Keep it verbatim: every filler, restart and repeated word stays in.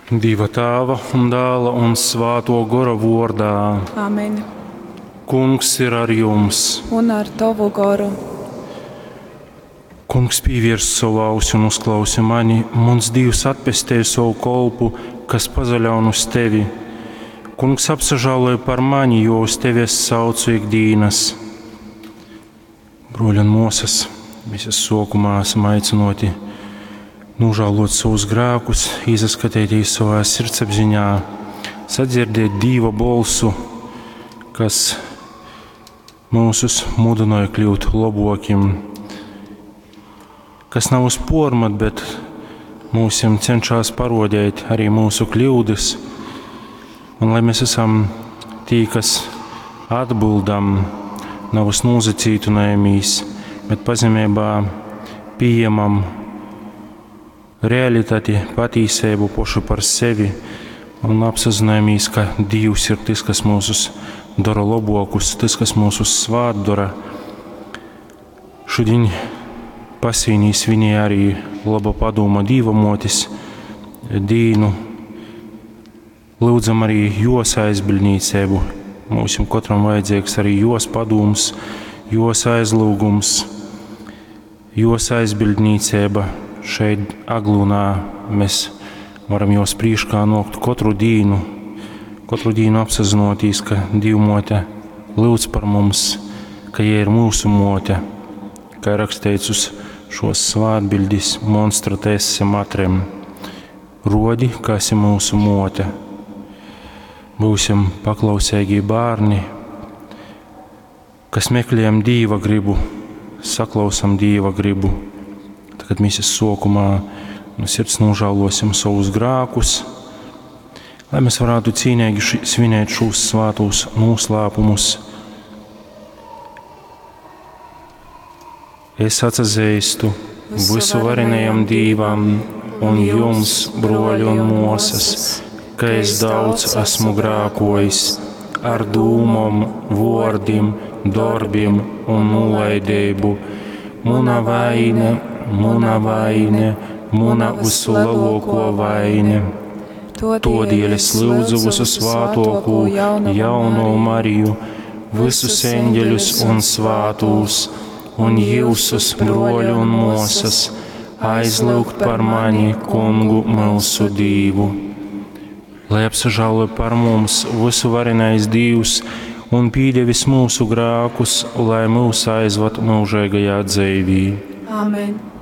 Dieva Tēva un Dēla un Svāto Gora vordā. Amen. Kungs ir ar jums. Un ar tavu goru. Kungs pievirs savu ausi un uzklausi mani. Mans Dievs atpestēja savu kolpu, kas pazaļaun uz tevi. Kungs apsažāloja par mani, jo uz tevi es saucu ikdienas. Broļi un mosas, mēs sokumā esam aicinoti nožēlot savus grēkus, izaskatīties savā sirdsapziņā, sadzirdēt Dieva bolsu, kas mūsus mudināja kļūt labokim, kas nav uz pormat, bet mūsim cenšas parodēt arī mūsu kļūdas, un lai mēs esam tī, kas atbildam, nav uz nozacītunājumīs, bet pazemībā pieņemam realitāti, patīsību pošu par sevi un apzināmies, ka Dievs ir tas, kas mūsus dara labokus, tas, kas mūsus svāt dara. Šodien Pasīnī svinēja arī laba padoma Dīva motis dīnu. Lūdzam arī jos aizbildnīcību. Mums katram vajadzīgs arī jos padoms, jos aizlūgums, jos aizbildnīcība. Šeit Aglūnā mēs varam jos prīškā nokt katru dīnu, katru dīnu apsazinoties, ka Dīvmote lūdz par mums, ka jie ir mūsu mote, kā rakstīts uz šos svātbildis monstra tesse matrem. Rodi, ka esi mūsu mote. Būsim paklausīgi bērni, kas meklējam Dīva gribu, saklausam Dīva gribu. Tagad mēs sokumā no sirds nožēlosim savus grēkus, lai mēs varētu cīnīgi ši, svinēt šos svātos noslēpumus. Es atzīstu visu varenajam Dīvam un jums, broļi un mosas, ka es daudz esmu grēkojis ar dūmom, vōrdim, darbiem un nolaidību. Muna vaine, muna vaine, muna visu lielāko vaine. Todēļ es lūdzu visu svātoko jauno Mariju, visus eņģeļus un svātūs, un jūsus, broļu un mosas, aizlūgt par mani, kungu mūsu Dīvu. Lai apsažālo par mums visu varenais Dīvs un pīdevis mūsu grēkus, lai mūs aizvad mūžīgajā dzīvī. Amen.